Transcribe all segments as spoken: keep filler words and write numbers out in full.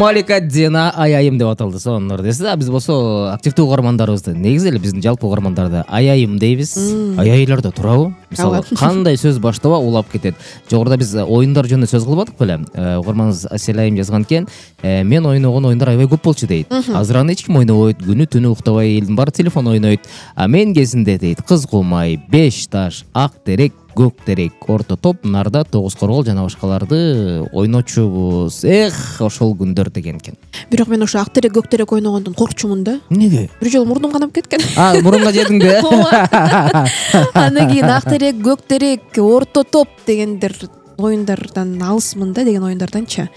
Малика Дина Аяйым деп аталды сонун десиз. А биз болсо активдүү угармандарыбызды, негизи эле биздин жалпы угармандарды Аяйым дейбиз. Аяйлар да турабы? Мисалы, кандай сөз баштаба улап кетет. Жогоруда биз оюндар жөнүндө сөз кылбадык беле? Угарманыбыз Аселайым жазган экен. Мен ойногон оюндар аябай көп болчу дейт. Азыр аны эч ким ойнобойт, күнү түнү уктабай элдин баары телефон ойнойт. А мен кезинде дейт, кыз кумай, беш таш, ак терек, көк терек, орто топ, нарда, тогуз коргол жана башкаларды ойночубуз. Эх, ошол күндөр деген экен. Бирок мен ошо ак терек, көк терек ойногондон коркчумун да. Неге? Бир жолу мурдум канап кеткен. А, мурунга жедиң да? Андан кийин ак терек, көк терек, орто топ дегендер оюндардан алысмын да, деген оюндарданчы.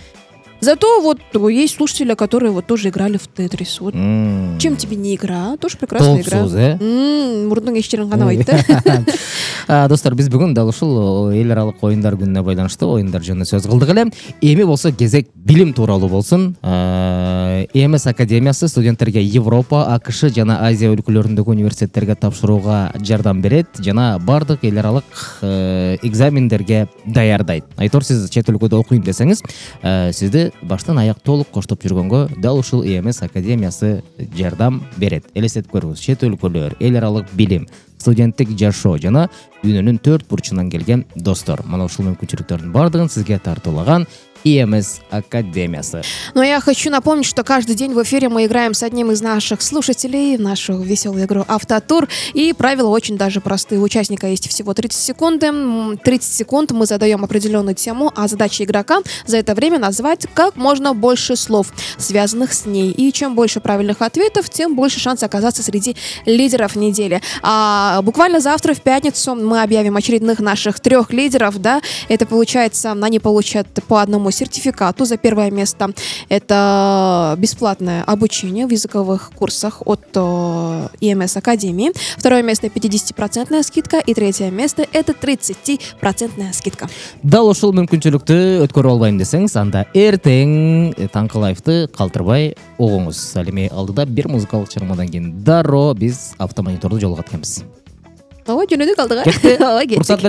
Зато вот есть слушатели, которые вот тоже играли в Тетрис. Вот mm. чем тебе не игра? Тоже прекрасная игра. Мурдуң эч жерин канабайт да. Достор, биз бүгүн дал ушул эл аралык оюндар күнүнө байланыштуу оюндар жөнүндө сөз кылдык эле. Эми болсо кезек билим тууралуу болсун. и эм эс академиясы студенттерге Европа, АКШ жана Азия өлкөлөрүндөгү университеттерге тапшырууга жардам берет жана бардык эл аралык экзамендерге даярдайт. Айтор, сиз чет өлкөдө окуйм десеңиз, сизди баштан аяк толук коштоп жүргөнгө дал ушул и эм эс академиясы жардам берет. Элестетип көрүңүз, чет өлкөлөр, эл аралык билим, студенттик жашоо жана дүйнөнүн төрт бурчунан келген достор. Мына ушул мүмкүнчүлүктөрдүн бардыгын сизге тартуулаган и эм эс академиясы. Но я хочу напомнить, что каждый день в эфире мы играем с одним из наших слушателей в нашу веселую игру «Автотур». И правила очень даже простые. У участника есть всего тридцать секунд. тридцать секунд мы задаем определенную тему, а задача игрока за это время назвать как можно больше слов, связанных с ней. И чем больше правильных ответов, тем больше шанс оказаться среди лидеров недели. А буквально завтра, в пятницу, мы объявим очередных наших трех лидеров. Да? Это получается, они получат по одному сертификату. За первое место это бесплатное обучение в языковых курсах от и эм эс Академии. Второе место пятидесятипроцентная скидка. И третье место это тридцатипроцентная скидка. Дал ушул мүмкүнчүлүктү өткөрүп албайм десеңиз, анда эртең таңкы лайфты калтырбай угуңуз. Ал эми алдыда бир музыкалык чыгармадан кийин дароо биз автомониторду жолго атканбыз. Ооба, жөнөдүк алдыга. Кетти. Уруксат